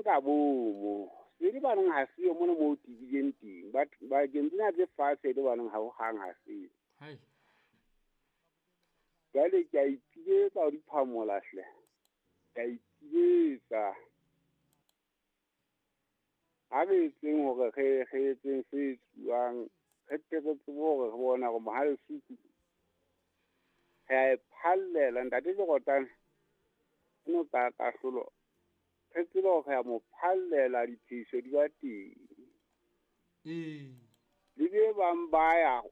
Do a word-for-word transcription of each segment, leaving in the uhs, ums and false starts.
ka bomo. Se di baneng ha se yo mona mo tibileng teng. Ba ba tsena tse fatshe di baneng ha ho hang ha se. Hai. Jwale ke a ipiletsa ho diphamola hle. Ke a ipiletsa. Ha re etseng hore re re etseng se etsuwang, re tle re tsebe hore re bona hore Mohalesuku re a e phallela ntate Lerotane no ka kahlolo. Re tsebe hore re a mo phallela diphehiso di ba teng. Ee. Le be bang ba ya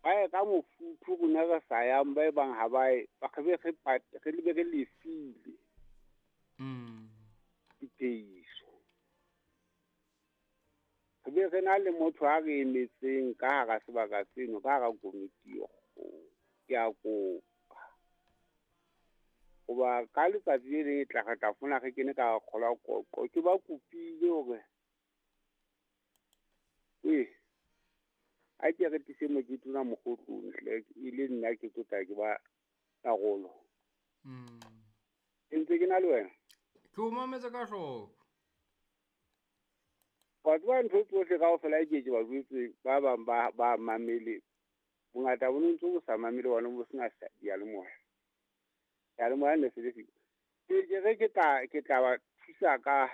ba ye ka mofuthu rona re sa yang ba e bang ha ba ye ba re be re pat- re be re lefile Mm. diphehiso. Re be re na le motho a re emetseng ka hara sebaka seno, ka hara komiti e kgolo. Ke a kopa. Hoba ka letsatsi le leng e tla re tla fumana re kene ka kgola qoqo. Ke ba kopile hore ee, a ke re tlise mokete ona mokgotlong hle, e le nna ke tlo tla ke ba karolo. Mm. Ke ntse ke na le wena. Ke o mametse ka hloko. Wa tseba ntho tsohle kaofela ke ke ba jwetse ba bang ba ba mamele. Bongata bo ntse bo sa mamele bona bo sena diyalemoya. Diyalemoya ne se le siko. Ke ke re ke tla ke tla ba thusa ka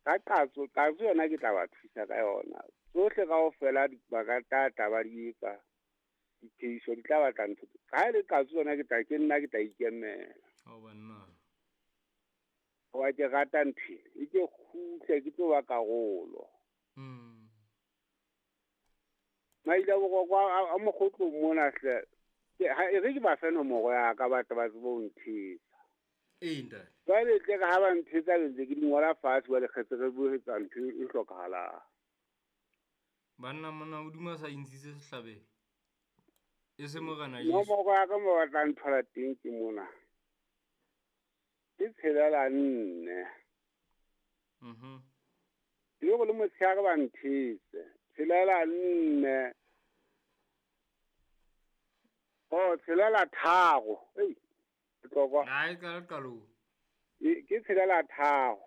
ka qatso, qatso yona ke tla ba thusa ka yona. Tsohle kaofela di ba ka tla ba di etsa. Diphehiso di tla batla ntho. Ha e le qatso yona ke tla ke nna ke tla ikemela. Ha banna. Wa ke rata ntho e ke kgutle ke tlo ba karolo. Mm. Maile boroko a mokgotlong mona hle. Ke ha e re ke ba fe nomoro ya ka batho ba tsebe ho nthetsa. Ee ntate. Jwale tle re ha ba nthetsa ke ntse ke di ngola fatshe jwale kgetse re bue etsa ntho e hlokahalang. Banna mona hodimo sa intshitse sehlabelo. E se morena Jesu. Nomoro ya ka mo batlang thola teng ke mona. Ke tshelela nne. Mhm. Ke go le motshehare ba nthetse. Tshelela nne. Oh, tshelela tharo. Ei. Tlokwa. Ai ka qalong. E ke tshelela tharo.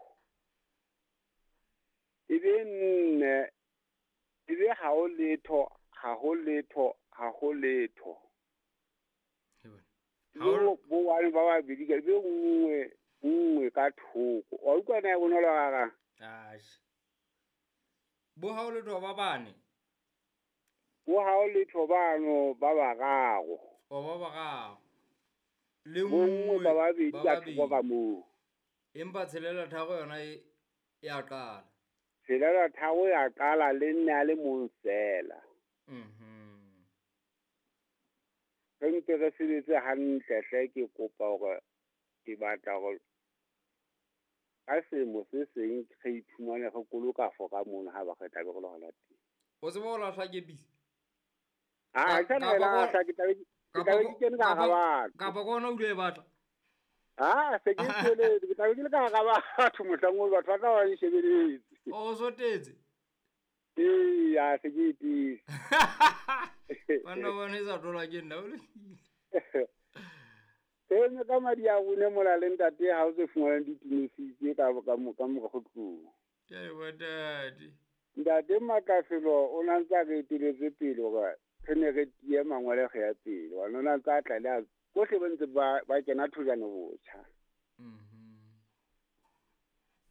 E be nne. E be ha o letho, ha ho letho, ha ho letho. He bona. Ha bo wa ba babedi ke be nngwe nngwe ka thoko. Wa utlwa na e bonolo ga Ai. Bo ha o letho ba bane. Bo ha o letho bano ba bararo. O ba bararo. Le nngwe ba babedi ka thoko ka moo. Empa tshelela tharo yona e ya qala. Tshelela tharo ya qala le nne a le mong fela. Mhm. Re ntse re sebetse hantle hle ke kopa hore ke batla hore ka selemo se seng re iphumane re koloka fora mono ha ba re tla be re le hona teng. O tseba ho lahla kepisi? Ah, ke tla lahla ke tla be ke tla be ke kene ka hara batho. Kapa ke ona o ile e batla? Ah, se ke tsweletse, ke tla be ke le ka hara batho mohlang oo batho ba tla ba nshebeletse. O sotetse? Ee, a se ke itise. Banna ba ne sa thola ke nna o le. Ene ka madi a rone mola le ntate ha o se fumanang ditumisitse ka ka ka mora tlung. Ke a ntate. Ntate Makafelo o na ntse a re eteletse pele hore re ne re tiye mangwele re ya pele. Wa nona ntse a tla le a bohle ba ntse ba ba kena thojana botjha. Mhm.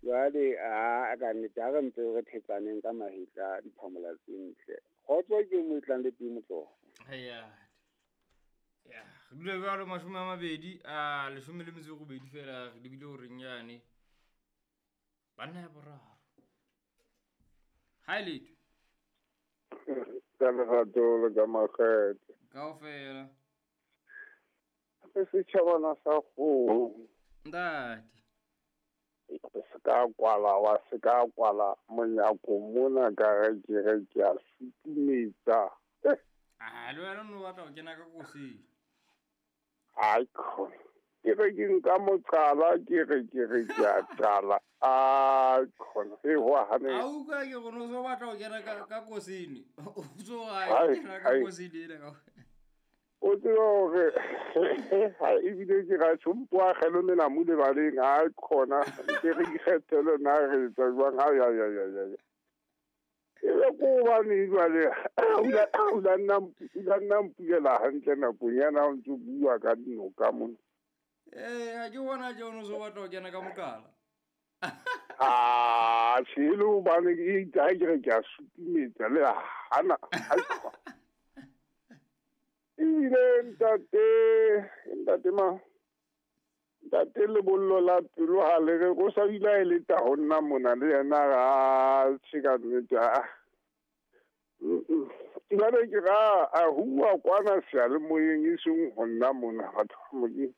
Jwale a ka nnete ha re ntse re thetsaneng ka mahetla diphamola tse ntle. Kgotso ke mo tlang le teng motlogo. Eya. Ya, re dule jwalo mashome a mabedi a leshome le metso e robedi fela re lebile horeng yane. Banna ya boraro. Ha letho. Ka lerato le ka makgethe. Kaofela. Re setjhabana sa kgomo. Ntate. Se ka kwala wa se ka kwala monyako mona ka re ke re ke a sutumetsa. Ah, le wena no batla ho kena ka kosing. Ai khona. Ke re ke nka moqala ke re ke re ke a qala. Ai khona. E ho hane. A utlwa ke re no so batla ho kena ka ka kosini. O so ga kena ka kosini ena ka. O tsebe hore ha ebile ke ra tjho mpo a kgelo melamu lebaleng ha khona ke re ikgethele na re etsa jwang. Ai ai ai ai ai. E be ko hobane jwale o la nna o la nna mpulela hantle nakong yana o ntso bua ka dinoka mona. Ee, ha ke bona tje o no so batla ho kena ka mokala. Ah, tjhe le hobane ke itse ha ke re ke a sutumetsa le hana. Ebile ntate, ntate ma, ntate lebollo la pelo ha le re o sa bile a eletsa ho nna mona le yena a tjhe ka nnete a. Jwale ke ra a hua kwana seyalemoyeng e seng ho nna mona batho ba Modimo.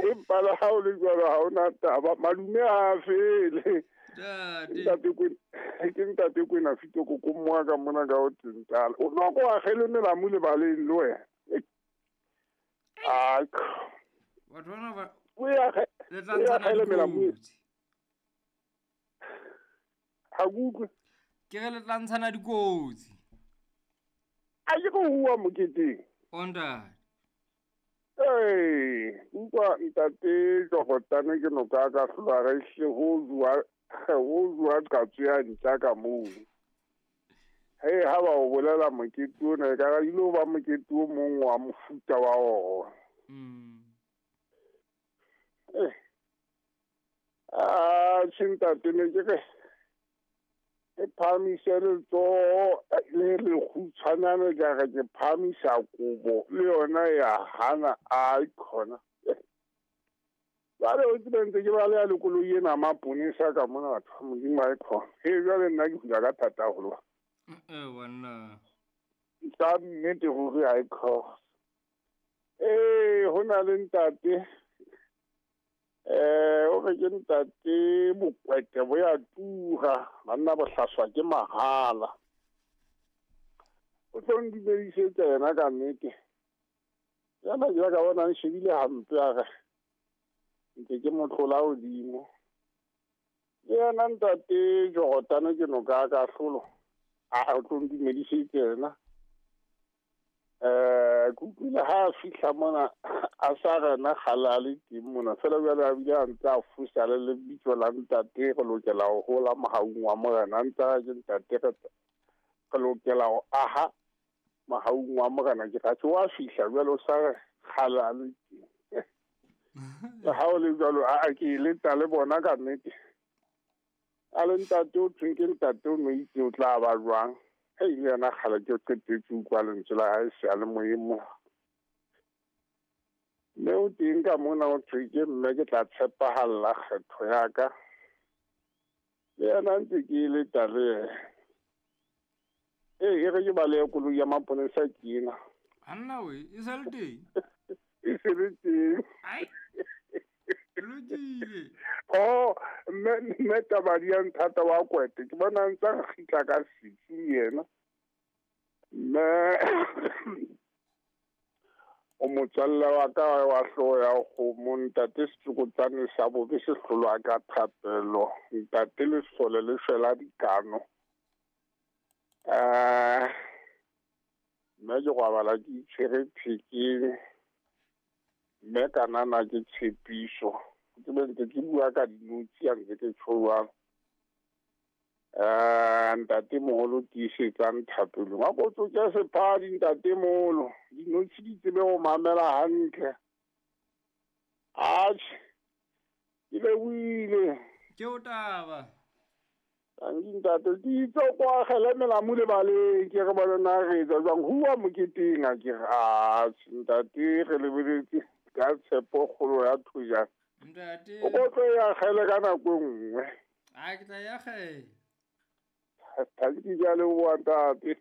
Empa le ha o le jwalo ha hona taba, malume ha a fele. Ntate. Ntate Kwena, ke ntate Kwena Fito koko mmoa ka mona ka ho Tentala. O no ko akgele melamu lebaleng le wena. Ah, Batho bana ba o e akge- le tla o e ntshana akgele melamu. dikotsi. Ha ke utlwe. Ke re le tla ntshana dikotsi. A ke go hua moketeng. O ntate. Ee, utlwa ntate Jogotane ke noka ka hlola re hle ho jwa ho jwa qatso ya ntja ka moo. Hei, ha ba o bolela mokete ona, e ka re ile ba mokete o mong wa mofuta wa ona. Mm. Eh. Ah, tjhe ntate ne ke re ke phahamise letsoho le lekgutshwanyane ka re ke phahamisa kobo le yona ya hana a khona. Jwale o tsebe ntse ke baleha le koloi ena maponesa ka mona batho ba Modimo ha e khona. He jwale nna ke hula ka thata haholo. Eh banna. Ka nnete ruri ha e khona. Ee, ho na le ntate eh o re ke ntate Bokwete bo ya tura banna bohlaswa ke mahala. O tlo ndumedisetsa yena ka nnete. Yana ke ka bona nshebile hampe a re ntse ke mo tlola hodimo. Le yena ntate Jogotane ke noka ka hlolo. A o tlo ndumedisetsa yena. Eh ke utlwile ha a fihla mona a sa rena kgale a le teng mona fela jwale a bile a ntse a fosa le lebitso la ntate re lokela ho hola mohaung wa Morena. A ntse a re ke ntate re re lokela ho aha mohaung wa Morena. Ke ra tjhe wa fihla jwale o sa re kgale a le teng. Le ha o le jwalo a a ke eletsa le bona ka nnete. A le ntate o thweng ke ntate o no itse o tla ba jwang. Hei le yena kgale ke qetetse utlwa lentswe la hae seyalemoyeng mona. Mme o teng ka mona o thwe ke mme ke tla tshepahalla kgetho ya ka. Le yena ntse ke eletsa le yena. Ee, e re ke balehe koloi ya maponesa ke ena. Banna we, e sa le teng? E se le teng. Ai. Lokile. Oh, mme mme Tabadi ya nthata wa Kwete ke bona ntse a kgitla ka setsu yena. Mme o motswalle wa ka wa hlooho ya kgomo ntate Setsokotsane sa bobe se hlolwa ka thapelo ntate Lesole le shwela dikano. Eh mme ke robala ke itshwere thekeng mme kanana ke tshepiso. Ke be ntse ke bua ka dinotshi ha ntse ke tjho jwalo. Eh ntate moholo tiisetsang thapelong. A ko tsoke sephadi ntate moholo. Dinotshi di tsebe ho mamela hantle. Atjhe, ke lebohile. Ke o taba. Tanki ntate, ke itse o ko akgele melamu lebaleng ke re bone na re etsa jwang. Hua moketeng a ke re atjhe ntate re lebeletse ka tshepo kgolo ya thojana. Ntate. O ko tlo e akgele ka nako e nngwe. A ke tla e akgela. Tanki ke a leboha ntate.